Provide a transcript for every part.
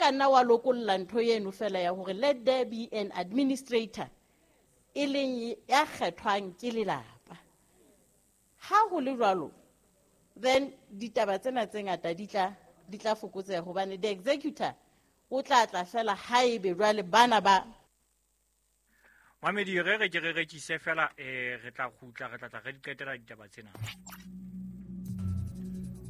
ka nna wa lokolla ntho eno fela ya hore let there be an administrator e leng ya kgethwang ke lelapa. Ha ho le jwalo, then ditaba tsena tse ngata di tla fokotseha hobane the executor o tla tla fela haebe jwale bana ba Mamedi, re re ke re rekise fela, re tla kgutla, re tla tla re di qetela ditaba tsena.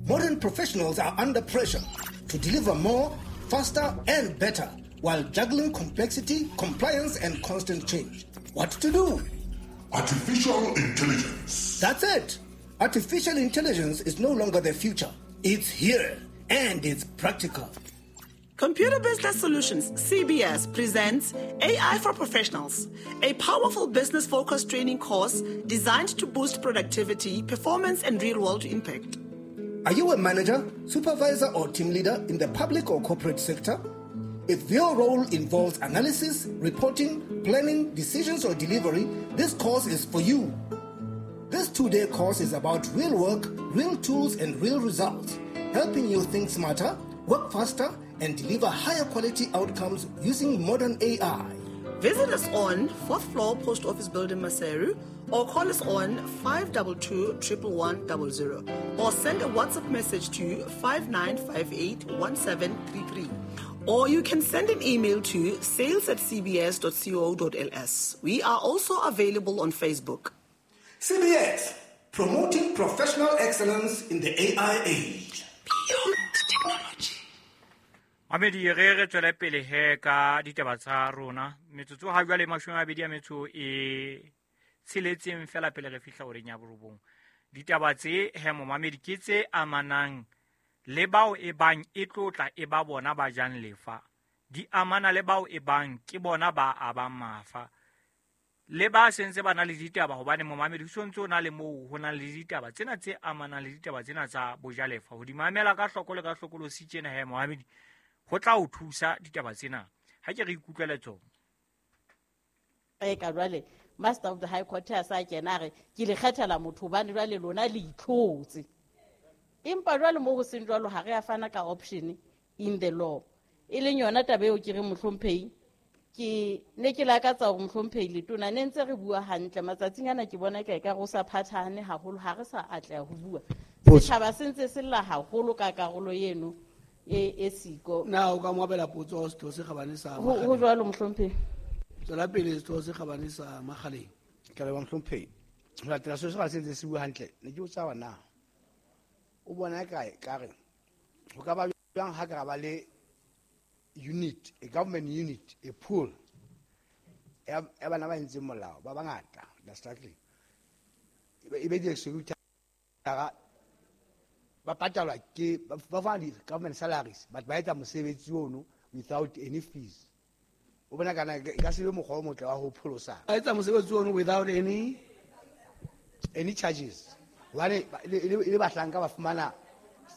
Modern professionals are under pressure to deliver more, faster, and better while juggling complexity, compliance, and constant change. What to do? Artificial intelligence. That's it. Artificial intelligence is no longer the future. It's here and it's practical. Computer Business Solutions, CBS, presents AI for Professionals, a powerful business focused training course designed to boost productivity, performance, and real world impact. Are you a manager, supervisor, or team leader in the public or corporate sector? If your role involves analysis, reporting, planning, decisions, or delivery, this course is for you. This 2-day course is about real work, real tools, and real results, helping you think smarter, work faster, and deliver higher quality outcomes using modern AI. Visit us on 4th floor Post Office Building, Maseru, or call us on 522 11100 or send a WhatsApp message to 5958 1733. Or you can send an email to sales@cbs.co.ls. We are also available on Facebook. CBS, promoting professional excellence in the AI age. Beyond technology. Mamedi, re re tswele pele he ka ditaba tsa rona. Metsotso ha jwale 26 fela pele re fihla horeng ya 9. Ditaba tse he, momamedi, ke tse amanang le bao e bang e tlotla e ba bona ba jang lefa, di amana le bao e bang ke bona ba abang mafa le ba sentse ba na le ditaba, hobane momamedi ho sontse o na le moo ho nang le ditaba tsena tse amanang le ditaba tsena tsa bojalefa. Ho di mamela ka hloko le ka hlokolosi tjena he, momamedi, ho tla o thusa ditaba tsena. Ha ke re ikutlwele tsona. E ka jwale Master of the High Court a sa kena, a re ke le kgethela motho hobane jwale lona le itlhotse. Empa jwale mo ho seng jwalo, ha re a fana ka option in the law, e leng yona taba eo ke re, mohlomphehi, ke ne ke lakatsa hore, mohlomphehi letona, ne ntse re bua hantle matsatsing ana, ke bona ka ekare o sa phathahane haholo, ha re sa atleha ho bua. Setjhaba se ntse se lla haholo ka karolo eno e siko. Na o ka mo abela potso, Setho se Kgabane sa Ho jwalo, mohlomphehi. Tswela pele, Setho se Kgabane sa Makgaleng. Ke a leboha, mohlomphehi. Ho latela seo se ga se ntse se bua hantle, ne ke botsa hore na o bona kae ka re ho ka ba jwang ha ka ra ba le unit, a government unit, a pool ya bana ba entseng molao ba bangata, they're struggling, e be di-executor, ba patalwa ke ba fana di-government salaries, but ba etsa mosebetsi ono without any fees. O bona kana e ka se be mokgwa o motle wa ho pholosa? Ba etsa mosebetsi ono without any Any charges, hobane e le bahlanka ba fumana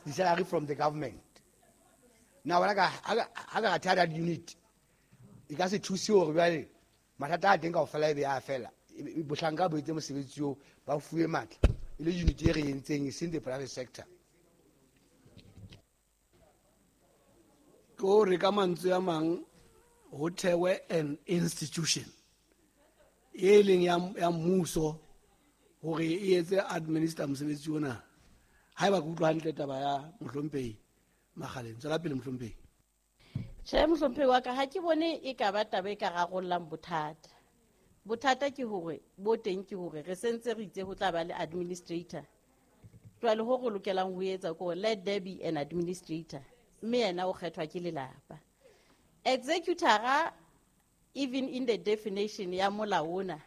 di-salary from the government. Na bona ka ha ka ra theha that unit, e ka se thuse hore jwale mathata a teng kaofela e be a fela? Bohlanka bo etse mosebetsi oo, ba fuwe matla, e le unit e re entseng, e seng the private sector. Ke hore ka mantswe a mang ho thewe an institution e leng ya mmuso hore e etse administer mosebetsi ona, haeba ke utlwa hantle taba ya mohlomphehi Makgaleng. Tswela pele, mohlomphehi. Tjhe, mohlomphehi wa ka, ha ke bone e ka ba taba e ka rarollang bothata. Bothata ke hore bo teng ke hore re sentse re itse ho tla ba le administrator. Jwale ho re lokelang ho etsa ke hore let there be an administrator, mme yena o kgethwa ke lelapa. Executora, even in the definition ya molao ona,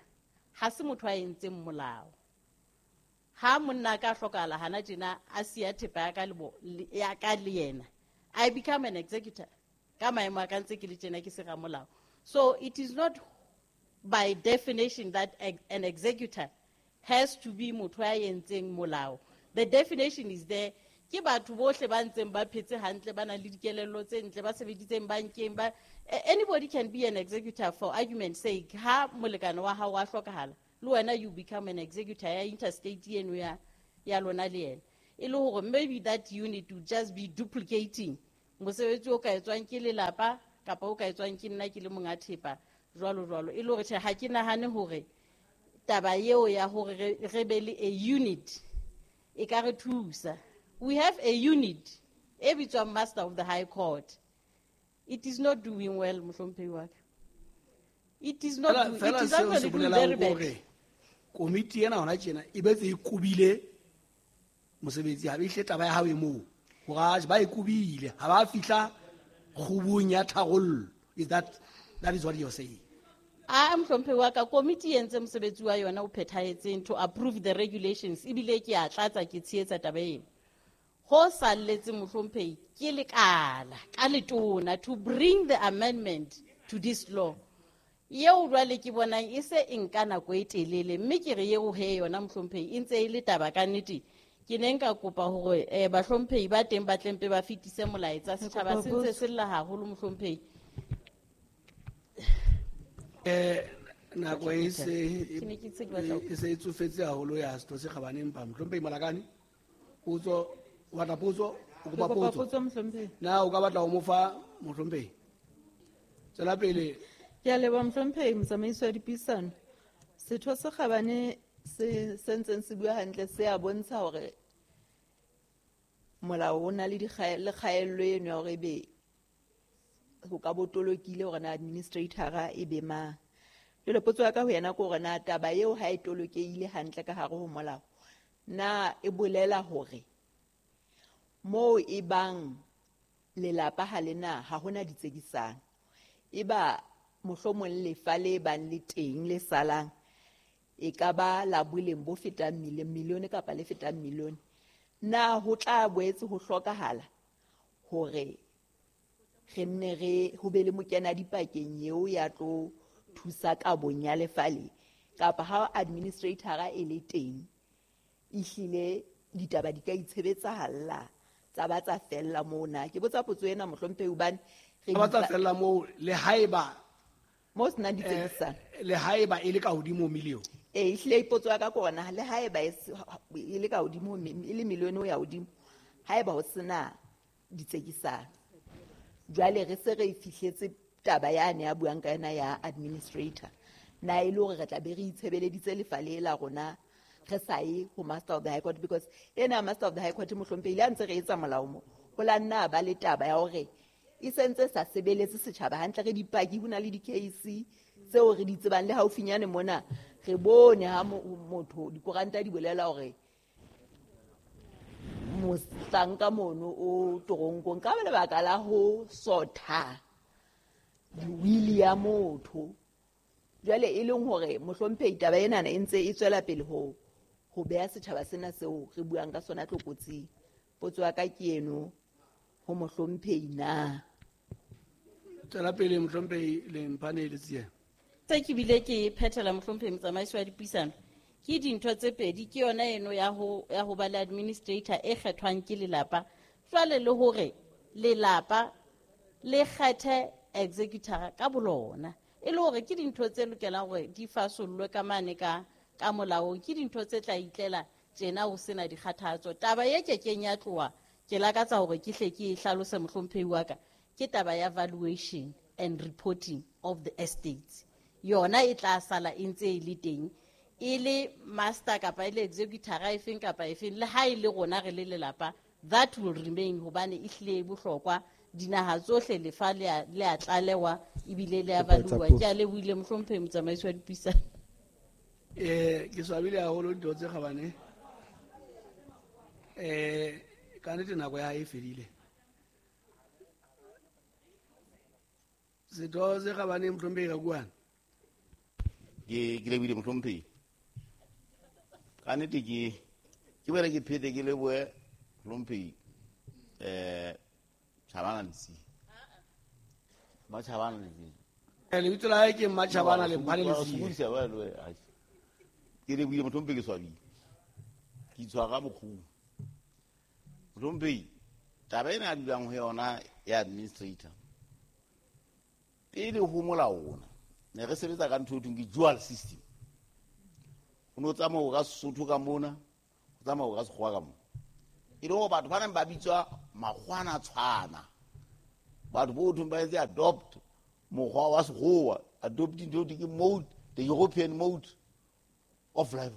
ha se motho a entseng molao. Ha monna a ka hlokahala hana tjena, a siya thepa ya ka le ya ka le yena, I become an executor ka maemo a ka ntse ke le tjena ke se ramolao. So it is not by definition that an executor has to be motho ya entseng molao. The definition is there, ke batho bohle ba ntseng ba phetse hantle, ba nang le dikelello tse ntle, ba sebeditseng bankeng ba anybody can be an executor. For argument sake, ha molekane wa hao wa hlokahala, le wena you become an executor ya intestate eno ya lona le yena, e le hore maybe that unit will just be duplicating. Mosebetsi o ka etswang ke lelapa kapa o ka etswang ke nna ke le monga thepa jwalo jwalo. E le hore tjhe, ha ke nahane hore taba eo ya hore re be le a unit e ka re thusa. We have a unit e bitswang Master of the High Court. It is not doing well, mohlomphehi wa ka. It is not doing, it is actually doing very bad. Komiti ena hona tjena e betse e kubile mosebetsi, ha be hle taba ya hao e moo. Hore ba e kubile, ha ba fihla kgubung ya tharollo. Is that is what you're saying? A mohlomphehi wa ka, komiti e entse mosebetsi wa yona o phethahetseng to approve the regulations, ebile ke a tlatsa ke tshehetsa taba eno. Ho salletse mohlomphehi ke lekala ka letona to bring the amendment to this law. Eo jwale ke bonang e se e nka nako e telele, mme ke re eo he yona mohlomphehi e ntse e le taba ka nnete. Ke ne nka kopa hore bahlomphehi ba teng ba tlempe ba fetise molaetsa, setjhaba se ntse se lla haholo mohlomphehi. Nako e se e tsofetse haholo ya setho se kgabane, empa mohlomphehi Malakane, potso, o batla potso, o kopa potso. Na o ka batla ho mo fa mohlomphehi? Tswela pele. Ke a leboha mohlomphehi motsamaisi wa dipuisano. Setho se kgabane se ntseng se bua hantle se a bontsha hore molao o na le kgaello eno ya hore ebe ho ka botolokile hore na administrator e be mang. Jwale potso ya ka ho yena ke hore na taba eo ha e tolokehile hantle ka hare ho molao, na e bolela hore moo e bang lelapa ha le na ha hona ditsekisano, e ba mohlomong lefa le bang le teng le salang e ka ba la boleng bo fetang milione kapa le fetang milione, na ho tla boetse ho hlokahala hore re nne re ho be le mokena dipakeng eo ya tlo thusa kabong ya lefa le, kapa ha administrator e le teng ehlile ditaba di ka itshebetsahalla tsa ba tsa fella moo na? Ke botsa potso ena mohlomphehi hobane re ba tsa fella moo le haeba mo se nang ditsekisano, le haeba e le ka hodimo milione. Ehlile potso ya ka ke hore le haeba e le ka hodimo e le milione ho ya hodimo, haeba ho sena ditsekisano, jwale re se re fihletse taba yane ya buang ka yona ya administrator, na e le hore re tla be re itshebeleditse lefa le la rona re sa ye ho Master of the High Court? Because ena Master of the High Court mohlomphehi le ha ntse re etsa molao mo, ho la nna ba le taba ya hore e sentse sa sebeletse setjhaba hantle. Re dipaki, ho na le di-case tseo re di tsebang le haufinyane mona re bone ha motho dikoranta di bolela hore mohlanka mono o toronkong ka lebaka la ho sotha di-will ya motho. Jwale e leng hore mohlomphehi taba enana e ntse e tswela pele ho beha setjhaba sena seo re buang ka sona tlokotsing. Potso ya ka ke eno ho mohlomphehi na. Tswela pele mohlomphehi Lemphane Letsie. Tse ke bile ke phethela mohlomphehi motsamaisi wa dipuisano ke dintho tse pedi, ke yona eno ya ho ba le administrator e kgethwang ke lelapa, jwale le hore lelapa le kgethe executor ka bolona, e le hore ke dintho tse lokelang hore di fasollwe ka mane ka molaong, ke dintho tse tla itlela tjena ho sena dikgathatso. Taba e kekeng ya tloha, ke lakatsa hore ke hle ke e hlalose mohlomphehi wa ka, ke taba ya valuation and reporting of the estates. Yona e tla sala e ntse e le teng, e le master kapa e le executor efeng kapa efeng, le ha e le rona re le lelapa, that will remain hobane e hlile e bohlokwa. Dinaha tsohle lefa le a tlalewa ebile le a valuwa. Ke a lebohile mohlomphehi motsamaisi wa dipuisano. Ke swabile haholo ditho tse kgabane. Ka nnete nako ya hae e fedile. Setho se kgabane mohlomphehi Rakuana. Ke lebohile mohlomphehi. Ka nnete ke boele ke phete ke lebohe mohlomphehi Chabana Letsie. Matjhabana Letsie. Lebitso la hae ke Matjhabana Lemphane Letsie. Ke lebohile mohlomphehi, ke swabile. Ke itshwara bokgubu. Mohlomphehi, taba ena a dulang ho yona ya administrator, pele ho molao ona ne re sebetsa ka ntho e thweng ke dual system. Ho no tsamaya ka Sesotho ka mona, ho tsamaya ka Sekgowa ka mona. E le hore batho ba neng ba bitswa makgwana tshwana, Batho bo thong ba etse adopt mokgwa wa sekgowa, adopting the mode, the European mode of life.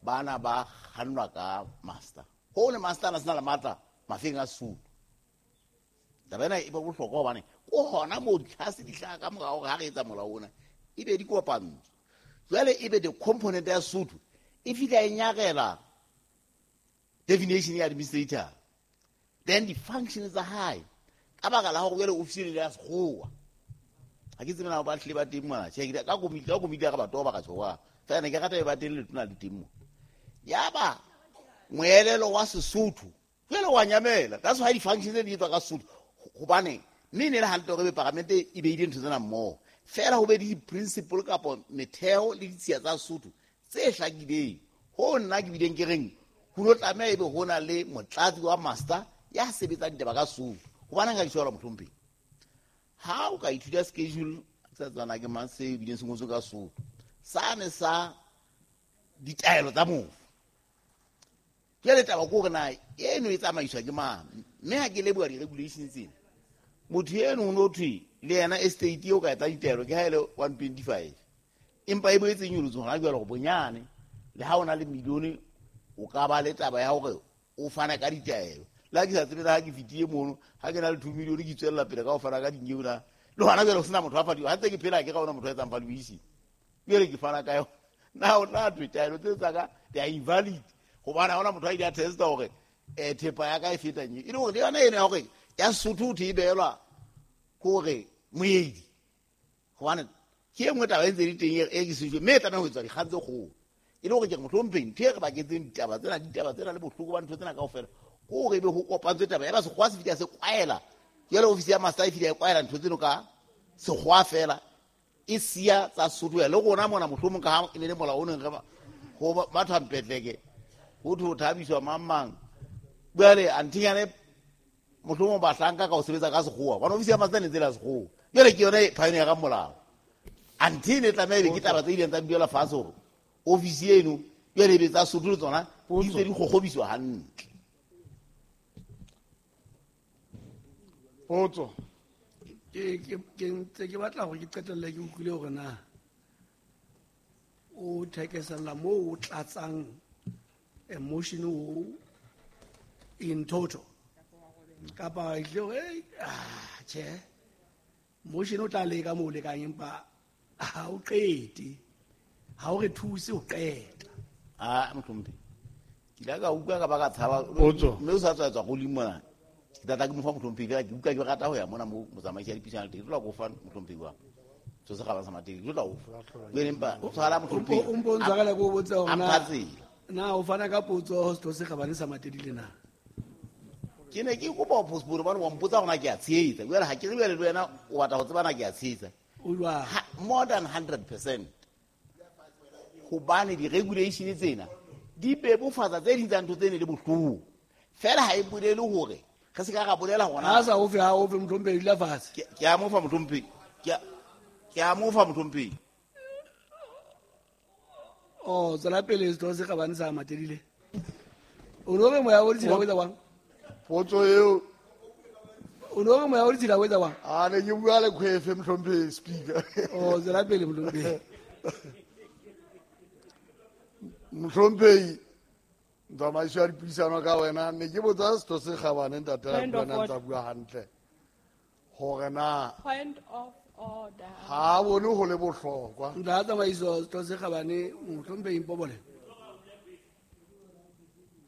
Bana ba kgannwa ka master. Ho le master na sena le matla mafeng a Sesotho. Taba ena e ba bohlokwa hobane ko hona moo ditlhase di hlaha ka morao ha re etsa molao ona, e be di kopantswe. Jwale e be the component ya Sesotho e fihla e nyarela definition ya administrator. Then the functions tsa hae ka baka la hore jwale ofisi le ya sekgowa. Ha ke tsebe na ba hlile ba teng mona. Tjhe, ka komiti ya ka batho ba ka tjhowa. Fela ne ke rata e ba teng letona le teng mo. Yaba moelelo wa Sesotho jwale wa nyamela. That's why di-functions tse di etswa ka Sesotho. Hobane mme ne le hantle hore paramente e beile ntho tsena mmoho. Fela ho be le di-principle kapa metheo le ditshiya tsa Sesotho tse hlakileng. Ho nna ke bileng ke reng ho lo tlameha ebe ho na le motlatsi wa master ya sebetsang ditaba ka Sesotho. Hobane nka ditshwara mohlomphehi. Ha o ka ithuta schedule sa tswana ke mang se bileng se ngotswe ka Sesotho. Sane sa ditaelo tsa mofu. Jwale taba ke hore na eno e tsamaiswa ke mang. Mme ha ke leboha di-regulations tsena, motho eno ho no thwe le yena estate eo ka etsa ditaelo ke ha e le 125. Empa e boetse e nyolotswe hona jwale hore bonyane le ha o na le milione o ka ba le taba ya hore o fana ka ditaelo. Le ha ke sa tsebe ha ke fetile mono, ha ke na le 2 million ke tswella pele ka ho fana ka dinyewe na. Le hona jwale ho sena motho a fadiwa. Ha ntse ke phela ke ga ona motho a etsang valuation. Jwale ke fana ka yona. Na o tla thwe taelo tse tsa ka they are invalid. Hobane ha hona motho a ile a testa hore thepa ya ka e feta nyewe. E le hore le yona eno ya hore ya Sesotho ho thwe e behelwa hore moedi. Hobane ke e nngwe taba e ntse e le teng e ke sejwe, mme e tlameha ho etswa dikgang tse kgolo. E le hore ke re mohlomphehi ntho e re baketseng ditaba tsena le bohloko ba ntho tsena kaofela ke hore ebe ho kopantswe taba ya ba sekgowa se fihla se kwaela. Jwale ofisi ya master e fihla e kwaela ntho tseno ka sekgowa fela e siya tsa Sesotho. Le rona mona mohlomong ka ha e ne le molao o neng re ho batho mpetleke ho thwe ho thabiswa mang mang. Jwale anthinyane mohlomong bahlanka ka ho sebetsa ka sekgowa. Hobane ofisi ya master ne ntse le ya sekgowa. Jwale ke yona pioneer ka molao. Anthe ne tlameha ebe ke taba tse ileng tsa duela fatshe hore ofisi eno jwale ebe tsa Sesotho le tsona di ntse di kgokgobiswa hantle. Potso. Ke ntse ke batla hore ke qetelle ke utlwile hore na o thekesella moo o tlatsang emotion o in total. Kapa e tle hore, tjhe, motion o tla leka moo o lekang empa ha o qete. Ha o re thuse ho qeta. Ah, mohlomphehi. Ke ile ka utlwa ka ba ka tshaba. Potso. Mme o sa tswa tswa godimo mona. Ke tla tla ke mo fa mohlomphehi, ke utlwa ke rata ho ya mona mo motsamaisi ya dipuisano teng. Ke tlo go fa mohlomphehi wa. So se gaba sa mateng, ke tlo go fa. Jwale empa tshwara mohlomphehi. O mpo ntshwarela ke o botse hore A na mpha tsela. Na o fana ka potso ho setho se kgabane sa Matedile na? Ke ne ke kopa ho postpone hobane wa mpotsa hore na ke a tshehetsa. Jwale ha ke re jwale le wena o batla ho tseba na ke a tshehetsa. O jwang? Ha, more than 100%. Hobane di-regulation tsena di bebofatsa tse ding tsa ntho tse ne le bohloko. Fela ha e bolele hore re se ka ra bolela hona. Ha sa ofe, ha ofe mohlomphehi, dula fatshe. Ke a mo fa mohlomphehi. Ke a mo fa mohlomphehi. Oh, tswela pele setho se kgabane sa Matedile. O no re moya o ditshila o etsa jwang? Potso eo. O no re moya o ditshila o etsa jwang? A ne ke bua le Kgwefe mohlomphehi speaker. Oh, tswela pele mohlomphehi. Mohlomphehi, tsamaiso ya dipuisano ka wena, ne ke botsa setho se kgabane ntate Point of Rakuana order. ntsa bua hantle. Hore na Point of order. ha a bone ho le bohlokwa. Ntate tsamaiso setho se kgabane mohlomphehi Mpobole.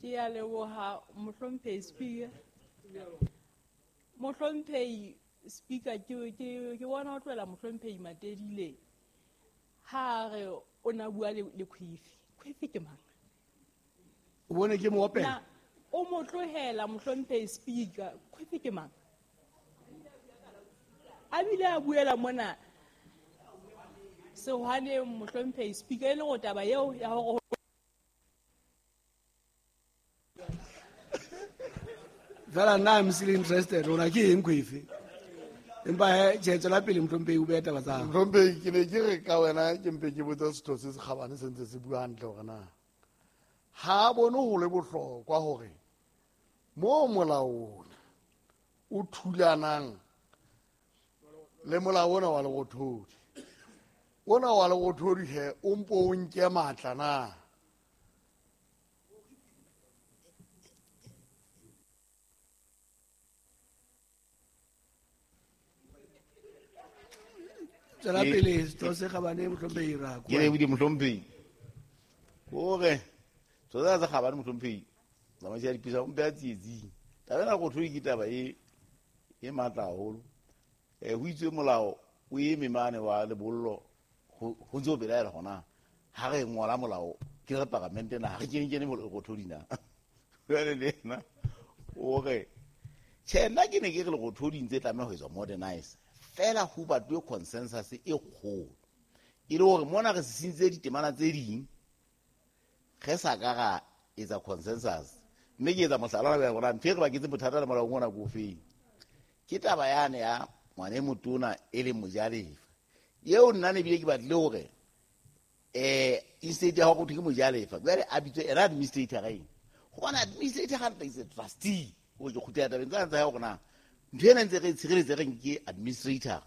Ke a leboha mohlomphehi speaker. Mohlomphehi speaker ke bona ho tlohela mohlomphehi Matedile. Ha re o na bua le Kgwefe. Kgwefe ke mang? O bone ke mo opela? Na o mo tlohela mohlomphehi speaker. Kgwefe ke mang? A bile a buela mona sehwaneng mohlomphehi speaker e le go taba eo ya hore Fela nna I'm still interested rona ke eng Kgwefe? Empa he, tjhe, tswela pele mohlomphehi o behe taba tsa hao. Mohlomphehi, ke ne ke re ka wena ke mpe ke botse setho se se kgabane se ntse se bua hantle hore na ha a bone ho le bohlokwa hore mo molaong o thulanang le molao ona wa lerothodi. Ona wa lerothodi he o mpo o nke matla na? Tswela pele Setho se Kgabane mohlomphehi Rakoane. Ke lebohile mohlomphehi. Hore Setho se Kgabane mohlomphehi tsamaiso ya dipisa o mpe a tsietsing. Taba ena lerothodi ke taba e matla haholo. Ho itswe molao o eme mane wa lebollo ho ntse ho belaela hona ha re ngola molao ke re paramente na ha re kene lerothodi na. Jwale le ena o re tjhe nna ke ne ke re lerothodi ntse tlameha ho etswa modernize fela ho batluwe consensus e kgolo e le hore mona re sesintse ditemana tse ding re sa ka ra etsa consensus. Mme ke etsa mohlala wa hore ntho e re baketse bothata le molao ona ko feng ke taba yane ya ngwana e motona e leng mojalefa eo nna ne bile ke batlile hore instead ya hore ke mojalefa jwale a bitswe ena administrator eng hobane administrator ga ntle is a trustee. O ke kgutlela tabeng tsa ya hore na ntho ena ntse re tshireletse re nke administrator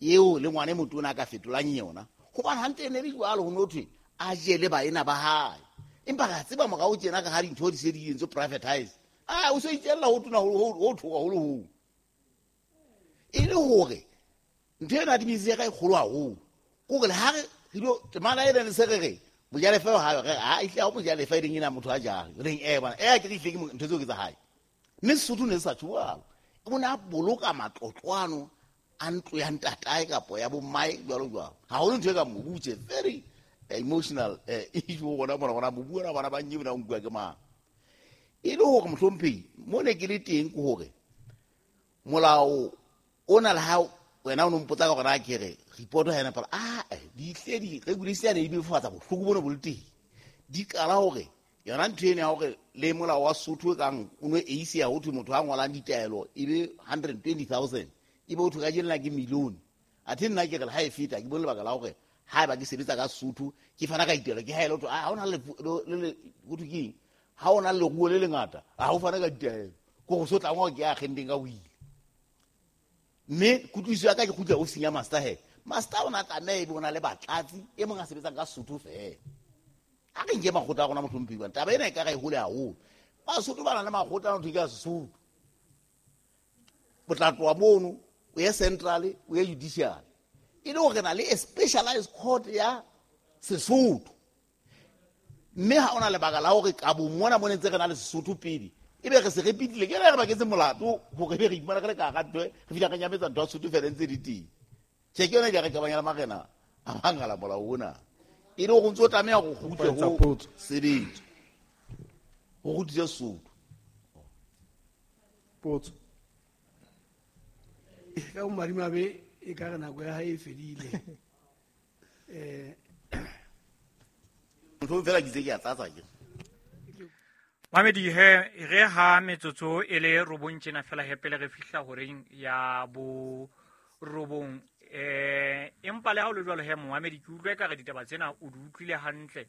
eo le ngwana e motona a ka fetolang yona hobane hantle ne le jwalo ho no thwe a jele baena ba hae empa ra tseba morao tjena ka ha dintho di se di entswe privatize a o se itjella ho tona ho thoka ho le ho e le hore ntho ena administrator e kgolo haholo kore le ha re dilo temana ena le se re re mojalefa ha re ha itle ha mojalefa e leng ena motho a jang re reng bana ke re itle ke ntho tseo ke tsa hae mme Sesotho ne se sa tjho o ne a boloka matlotlwano a ntlo ya ntatae kapo ya bommae jwalo jwalo. Haholo ntho e ka mobu tje very emotional issue gona mona gona mobu ona bana ba nnye bona o nkuwa ke mang. E le hore mohlomphehi mo ne ke le teng ke hore molao ona le ha wena o no mpotsa ka hore na ke re report ha ena pala di tle di regulation e befatsa bohloko bona bo le teng di qala hore yona ntho ena ya hore le molao wa Sotho kang o no eisi ya ho thwe motho a ngolang ditaelo e be 120,000 e be o thwe ka jena ke million. Athe nna ke re ha e feta ke bone lebaka la hore ha ba ke sebetsa ka Sotho ke fana ka ditaelo ke ha ele ho ha ona le ho thwe keng ha ona le leruo le lengata ha o fana ka ditaelo ko go so tla ngwa ke a kgendeng ka o ile. Mme kutlwisiso ya ka ke kgutla ofising ya master he master ona tlameha e be o na le batlatsi e mong a sebetsang ka Sotho fela. A re nke makgotla a rona mohlomphehi bana taba ena e ka ra e hole haholo. Basotho ba na le makgotla a ntho ke ya Sesotho o tla tloha mono o ye central o ye judicial e le hore na le a specialized court ya Sesotho mme ha ona lebaka la hore ka bo mona mo ne ntse re na le Sesotho pele e be re se repitile ke re baketse molato hore be re ipumana re le ka hara ntho re fihla re nyametsa ntho ya Sesotho fela ntse di teng. Tjhe ke yona ke re kabanya le marena a mangala molao ona e le hore ntse o tlameha ho kgutle ho sebetsa ho kgutlise Sesotho. Potso ka bomadimabe e ka re nako ya hae e fedile. Motho fela ke itse ke a tlatsa ke Mamedi he re ha metsotso e le robong tjena fela he pele re fihla horeng ya bo robong empa le ha o le jwalo he momamedi ke utlwe ka re ditaba tsena o di utlwile hantle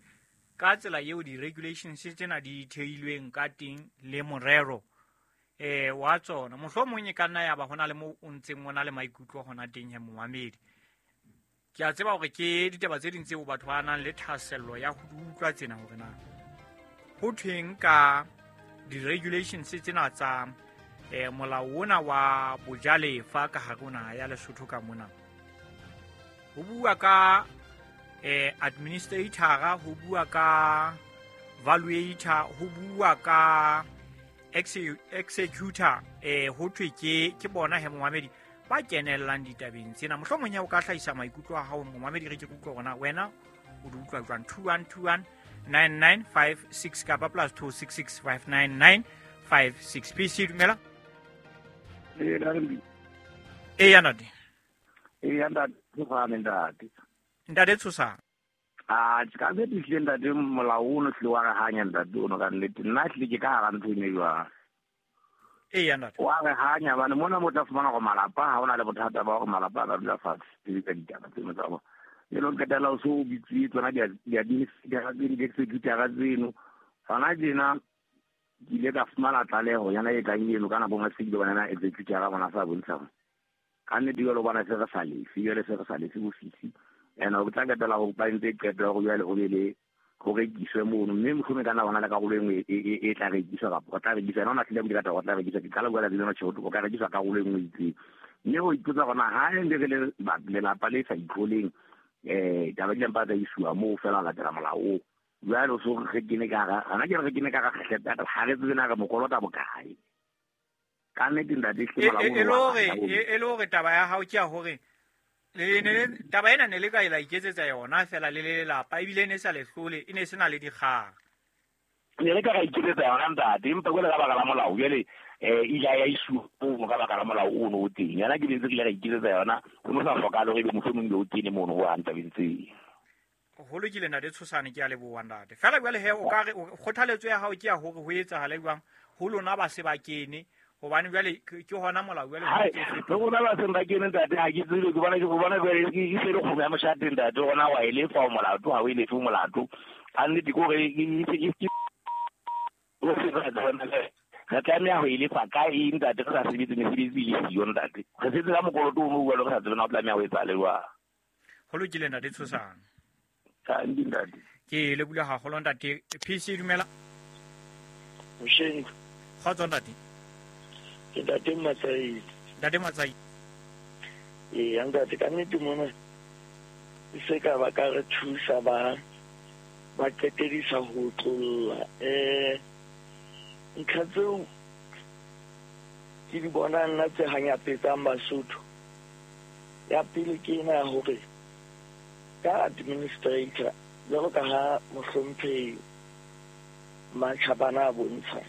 ka tsela eo di-regulations tsena di theilweng ka teng le morero wa tsona. Mohlomong e ka nna ya ba hona le moo o ntseng o na le maikutlo hona teng he momamedi. Ke a tseba hore ke ditaba tse ding tseo batho ba nang le thahasello ya ho di utlwa tsena hore na ho thweng ka di-regulations tsena tsa molao ona wa bojalefa ka hare ho naha ya Lesotho ka mona. Ho bua ka administrator, ho bua ka valuator, ho bua ka executor, ho thwe ke bona he momamedi ba kenellang ditabeng tsena. Mohlomong ya o ka hlahisa maikutlo a hao momamedi re ke utlwe hore na wena o di utlwa jwang. 2121 9956 kapa plus 266 599 56. PC dumela. E ya ntate. E ya ntate Tshosane ntate. Ntate Tshosane. A ka be tlile ntate molao ono tlile wa re hanya ntate ono ka nnete nna tlile ke ka hara ntho ene jwang. E ya ntate. Wa re hanya bane mona mo tla fumana go malapa ha ona le bothata ba gore malapa ba dula fatshe ka ditaba tseno tsa bona. E lo qetela o so bitswe tsona di-administrator tseno di-executor tseno. Hona tjena Ke ile ka fumana tlaleho yana e tlang eno ka nako nngwe se ile bona executive ya rona sa bontsha hore ka nnete jwale o bona se re sa lefe, jwale se re sa lefe ofisi. And o tla qetela ho ba ntse qeto ya hore jwale ho be le ho rekiswe mono, mme mohlomong e ka nna bona le karolo e nngwe e tla rekiswa kapa o tla rekiswa. Yena o na hlile a buile ka taba, o tla rekiswa. Ke qala ho bua letsatsi lena tjhe, o ka rekiswa karolo e nngwe e itseng. Mme ho ipotsa hore na ha ne re le lelapa le sa itlholeng, taba di mpa tsa isuwa moo fela ho latela molao oo. Jwale o so re kene ka hara, hona ke re kene ka hara kgehlepe, ha re tsebe na re mo kolota bokae. Ka nnete ntate, hle molao E ono le wa hore rata ho e le hore taba ya hao ke ya hore le ne taba ena ne le ka la iketsetsa yona fela le le lelapa, ebile e ne sa le hlole, e ne se na le dikgang. Ne le ka ra iketsetsa yona ntate, empa jwale ka baka la molao jwale ile ya isuwa mono ka baka la molao ono o teng. Yona ke ntse re ile ra iketsetsa yona, ho no sa hlokahale hore ebe mohlomong o kene mono ho hang tabeng tseo. Ho lokile ntate Tshosane, ke a leboha ntate. Fela jwale he o ka re kgothaletso ya hao ke ya hore ho etsahale jwang ho lona ba se ba kene, hobane jwale ke hona molao jwale Hai, le rona ba seng ba kene ntate, ha ke tsebe, ke bona jwale ke se le kgomo ya moshate ntate, rona wa e lefa o molato, ha o e lefe o molato. Ka nnete ke hore re tlameha ho e lefa ka eng ntate, re sa sebetse mesebetsi e le siyo ntate. Re setse ka mokoloto ono jwale re sa tsebe na o tlameha ho etsahale jwang. Ho lokile ntate Tshosane. Ka ntate. Ke lebohile haholo ntate. PC dumela. Mosheng. Kgotso ntate. Ke ntate Matsaile. Ntate Matsaile. Ee, ntate, ka nnete mona e se ka ba ka re thusa ba qetedisa ho tlolla. Ntlha tseo ke di bonang nna tse hanyapetsang Basotho. Ya pele ke ena ya hore ka administrator jwalo ka ha mohlomphehi Matjhabana a bontsha,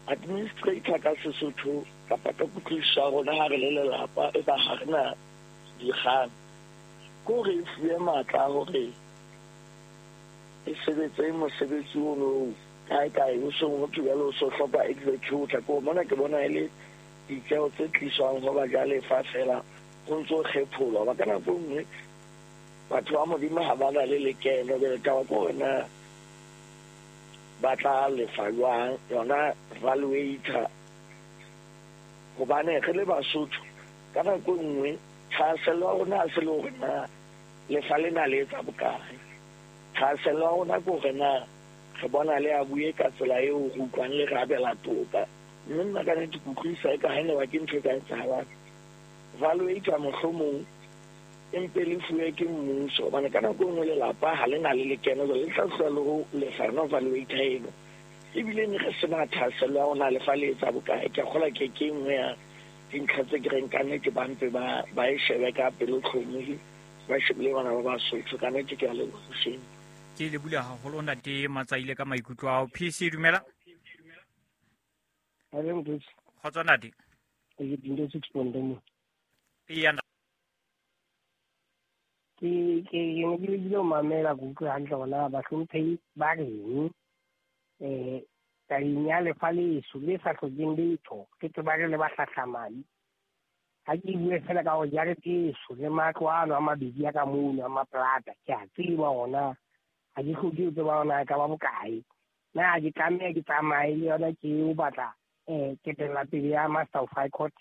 administrator ka Sesotho kapa ka kutlwisiso ya rona ha re le lelapa e ba ha re na dikgang, ke hore e fuwe matla a hore e sebetse mosebetsi ono kae kae, o seng ho thwe jwale o so hloka executor. Ke mona ke bona e le ditjeho tse tliswang ho bajalefa fela ho ntso kgepholwa. Ba ka nako e nngwe batho ba Modimo ha ba na le lekeno, jwale taba ke hore na ba tla lefa jwang yona valuator. Hobane re le Basotho ka nako e nngwe thahasello ya rona ha se le hore na lefa lena le etsa bokae, thahasello ya rona ke hore na re bona le a bue ka tsela eo re utlwang le re abela toka. Mme nna ka nnete ke utlwisisa eka ha e ne ba ke ntho e ka etsahalang, valuator mohlomong empe le fuwe ke mmuso, hobane ka nako e nngwe lelapa ha le na le lekeno, jwale le tla tloha le ho lefa yona valuator eno. Ebile ne re sena thahasello ya hore na lefa le etsa bokae. Ke a kgolwa ke e nngwe ya dintlha tse ke reng ka nnete ba mpe ba e shebe ka pelotlhomohi, ba shebile bana ba Basotho. Ka nnete ke a leboha mosheng. Ke lebohile haholo ntate Matsaile ka maikutlo ao. PC dumela. Kgotso ntate. Ke dintho tse 6.1. Eya. Ke ne ke lekile ho mamela, ke utlwe hantle hore na bahlomphehi ba reng. Tabeng ya lefa leso le sa hlokeng letho, ke tseba re le ba hlahlamane. Ha ke bue fela ka hore jarete eso le matlo ano a mabedi a ka mono a maplata, ke a tseba hore na ha ke hloke ho tseba hore na e ka ba bokae. Na ke tlameha ke tsamaye le yona ke o batla ketella pele ya Master of High Court.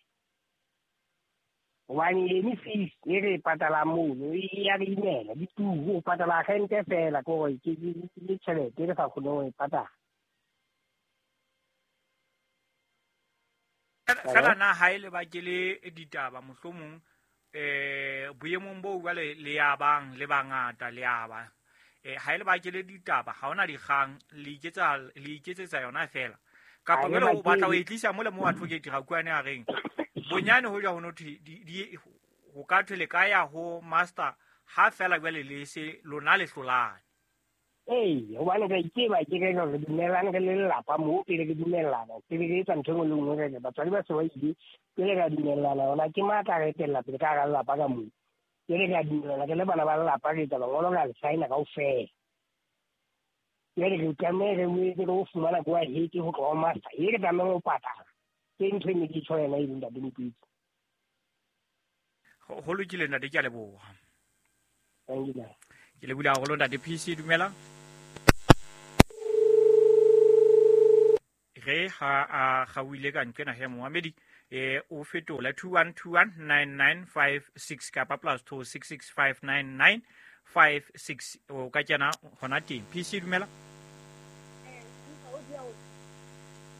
Hobane ene fees e re e patalang mono e ya re imela, di turu, o patala rente fela, ke hore ke tjhelete e re sa kgoneng ho e patala. Fela na ha e le ba ke le ditaba mohlomong boemong boo jwale le ya bang le bangata le ya ba ha e le ba ke le ditaba, ha hona dikgang, le iketsetsa yona fela. Kapa jwale o batla ho e tlisa mole mo advocate Rakuane a reng bonyane ho ja ho no thwe ho ka thwe le ka ya ho master ha fela jwale le se lona le hlolane. Ee, hobane ka itseba ke re re dumellane re le lelapa moo, pele re dumellana, pele re etsa ntho e nngwe le nngwe, re re batswadi ba se ba ile, pele re a dumellana hona ke matla re etella pele ka hara lelapa ka moo. Pele re a dumellana re le bana ba lelapa, re etsa mangolo, re a le sign-a kaofela. Jwale re tlameha re boetse re o fumana ko heke ho tloha ho master, e re tlamehang ho patala. Ke ntho e ne ke tjho yona e leng ntate Mokgweetsi. Ho lokile ntate, ke a leboha. Thank you. Ke lebohile haholo ntate PC, dumela. Re ha a kgaohile ka nqena he momamedi, o fetola 21219956 kapa +266 59956, o ka kena hona teng. PC, dumela.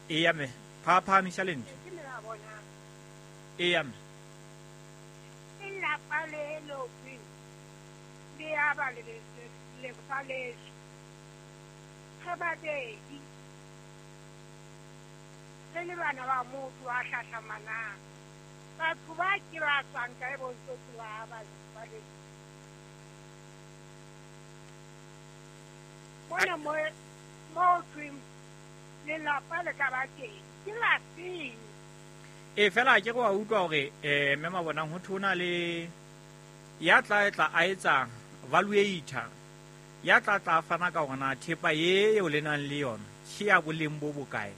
Eya mme, phaphamisa lentswe. Eya mme. Lelapa le lotsweng le aba lefa leso re babedi, re le bana ba motho a hlahlamanang. Batho ba ke ba tswang kae bontsotsi ba aba lefa leso? Mona mo thweng lelapa le ka ba teng ke la feng? E fela ke go a utlwa hore mme Mabonang ho thona le ya tla tla a etsa valuator, ya tla tla fana ka hore na thepa eo le nang le yona ke ya boleng bo bokae.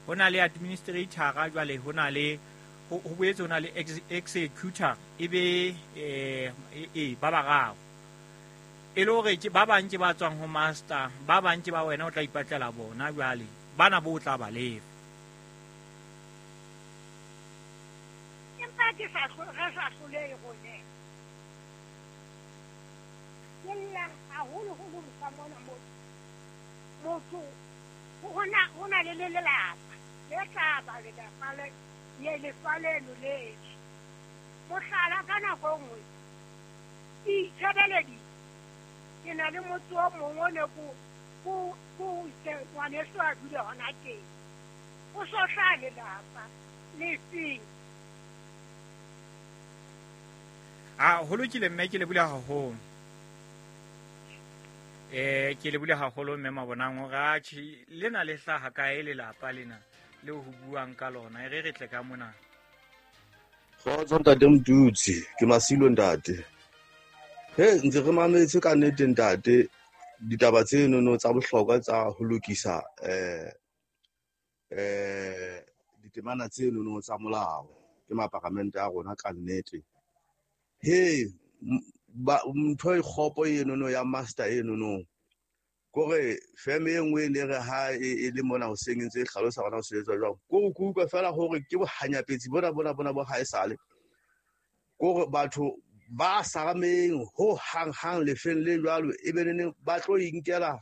Ho na le administrator, jwale ho na le ho boetse ho na le executor, e be ba bararo, e le hore ke ba bang ke ba tswang ho master, ba bang ke ba wena o tla ipatlela bona, jwale bana bo tla ba lefa. Empa ke sa re sa hlolehe rone. Ke lla haholoholo ka mona motho ho na le lelapa le tla ba lelapa le ye lefa leno leso. Mohlala, ka nako e nngwe ke itshebeleditse, ke na le motse o mongwe o ne ko itse ngwaneso a dule hona teng, o so hlaha lelapa le feng. A ho lokile mme, ke lebule haholo. Ke lebule haholo mme Mabonang hore atjhe lena le hlaha kae lelapa lena le ho buang ka lona, e re re tle ka mona. Kgotso ntate Motutsi, ke Masilo ntate. He ntse re mametse ka nnete ntate ditaba tsenono tsa bohlokwa tsa ho lokisa ditemana tsenono tsa molao ke maparamente a rona ka nnete. He ntho e kgopo enono ya master enono, kore feme e nngwe e ne re ha e le mona hoseng e ntse e hlalosa hore na ho sebetswa jwang. Kore ke utlwa fela hore ke bohanyapetsi bona bona bona bo haesale. Kore batho ba sarameng ho hang hang lefeng le jwalo, e be neneng ba tlo inkela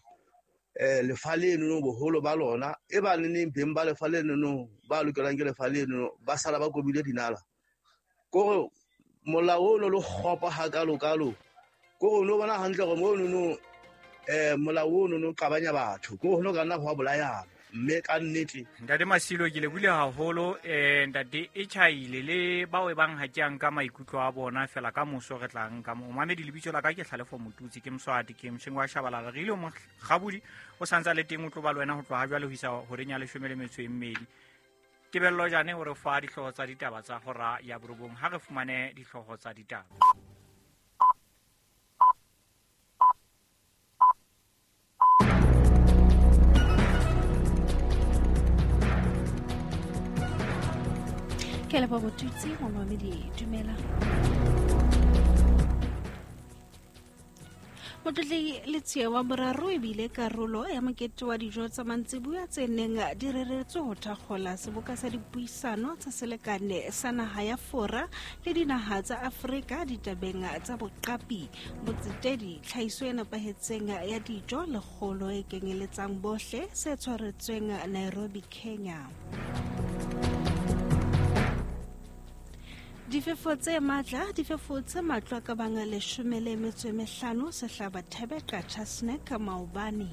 lefa lenono boholo ba lona, e ba neneng beng ba lefa lenono ba lokelang ke lefa lenono ba sala ba kobile dinala. Kore molao ono le kgopo hakalo-kalo, kore o no bona hantle hore monono molao ono no qabanya batho, kore ho no ka nna ho a bolayana. Mme ka nnete ntate Masilo, ke lebule haholo. Ntate e tjhaile le bao e bang ha ke a nka maikutlo a bona fela, ka moso re tla nka mo mamedi. Lebitso la ka ke Hlalefo Motutsi, ke Moswati, ke motjheng wa Shabalala. Re ile Mokgabudi o santsa le teng, o tlo ba le wena ho tloha jwale ho isa horeng ya 12. Tebello Jane o re fa dihlooho tsa ditaba tsa hora ya 9. Ha re fumane dihlooho tsa ditaba. Ke leboha Botutsi, momamedi, dumela. Motlotlegi Letsie wa boraro ebile karolo ya mokete wa dijo tsa mantsibuya tse neng di reretswe ho thakgola seboka sa dipuisano tsa selekane sa naha ya Fora le dinaha tsa Afrika ditabeng tsa boqapi, botsetedi, tlhahiso e nepahetseng ya dijo le kgolo e kenyeletsang bohle, se tshwaretsweng Nairobi, Kenya. Difefo tse matla di fefotse matlo a ka bang 15 sehlaba Thebe Qacha Snack maobane.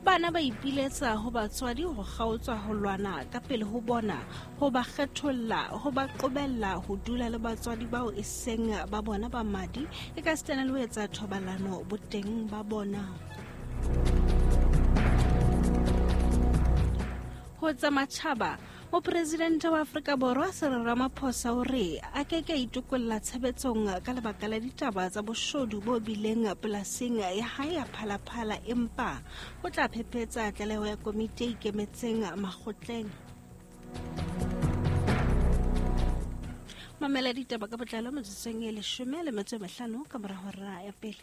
Bana ba ipiletsa ho batswadi ho kgaotswa ho lwana ka pele ho bona, ho ba kgetholla, ho ba qobella ho dula le batswadi bao e seng ba bona ba madi, e ka sitana le ho etsa thobalano boteng ba bona. Ho tsa matjhaba, mopresidente wa Afrika Borwa Cyril Ramaphosa o re a ke ke a itokolla tshebetsong ka lebaka la ditaba tsa boshodu bo bileng polasing ya hae ya Phalaphala, empa o tla phephetsa tlaleho ya komiti e ikemetseng makgotleng. Mamela ditaba ka botlalo metsotsong e 15 ka mora hora ya pele.